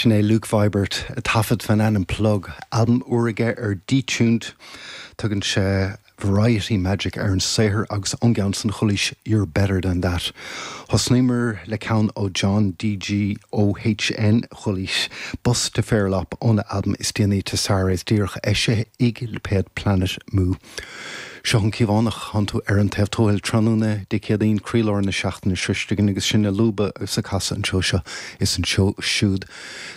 Sin é Luke Vibert, ag taifead faoin ainm Plug, albam úr aige ar Detuned. Tugann sé Variety Magic ar an saothar agus ón gceann san chualaís You're Better Than That. Thosnaíomar le ceann ó John DGOHN, chualaís Bus to Fairlop óna albam is déanaí Tessares díreach eisithe ag lipéad Planet Mu. Seo an Cíobhánach, thánn tú ar An Taobh Tuathail tráthnóna Dé Céadaoin, croílár na seachtaine sroiste againn agus sinn ag lúbadh agus ag casadh an treo seo is an treo siúd.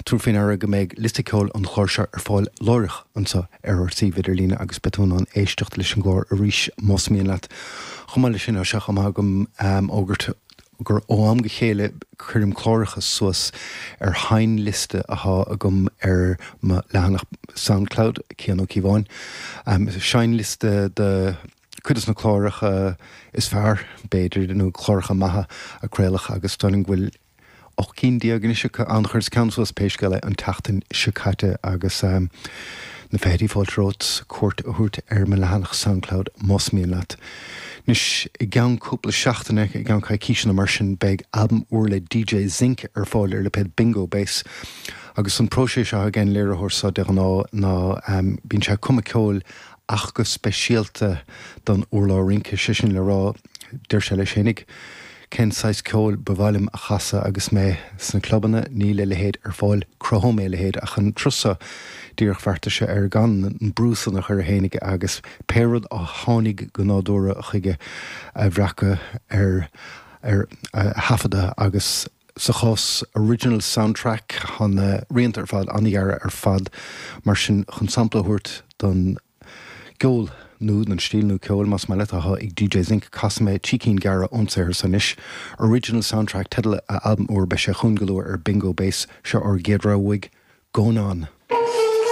Tabhair faoi ndeara go mbeidh liosta ceoil an chláir seo ar fáil láithreach anseo ar ár suíomh idirlíne agus beidh tú in ann éisteacht leis an gclár arís más mian leat. Chomh maith leis sin, tá sé chomh maith agam fhógairt gur ó am go chéile cuirim cláracha suas ar sheinnliosta athá agam ar mo leathanach Soundcloud, Cian Ó Cíobháin. Seinnliosta de chuid des na cláracha is fearr, b'fhéidir, nó cláracha maithe a craoladh agus déarfainn go bhfuil 18 cinn anois acu ann. Chuireas ceann suas pé scéal é an tseachtain seo caite agus na feithidí fáilte romhat cuairt a thabhairt ar mo leathanach Soundcloud más mian leat. Anois, i gceann cúpla seachtaine, i gceann coicíse nó mar sin, beidh albam úr le DJ Zinc ar fáil ar lipéad Bingo Bass. Agus an próiseas atá ag an léiritheoir seo de ghnáth ná bíonn sé ag cumadh ceoil ach go speisialta don urlár rince, sé sin le rá, deir sé leis fhéinig, Cén saghas ceoil ba mhaith liom a chasadh agus mé sna clubanna? Níl a leithéid ar fáil. Cruthóidh mé a leithéid. Ach an turas seo, díreach bheartaigh sé ar gan an brú san a chur air fhéinig agus pé rud a tháinig go nádúrtha chuige a bhreacadh ar ar a thaifeadadh agus sa chás Original Soundtrack tá na rianta ar fad an-ghearr ar fad mar sin chun sampla a thabhairt don gceol nó don stíl nua ceoil, más maith leat, atá ag DJ Zinc. Casfaidh mé trí cinn gearra ón saothar so anois. Original Soundtrack teideal a albam úr, beidh sé chugainn go luath ar Bingo Bass. Seo ár gcéad rogha uaidh, Going On.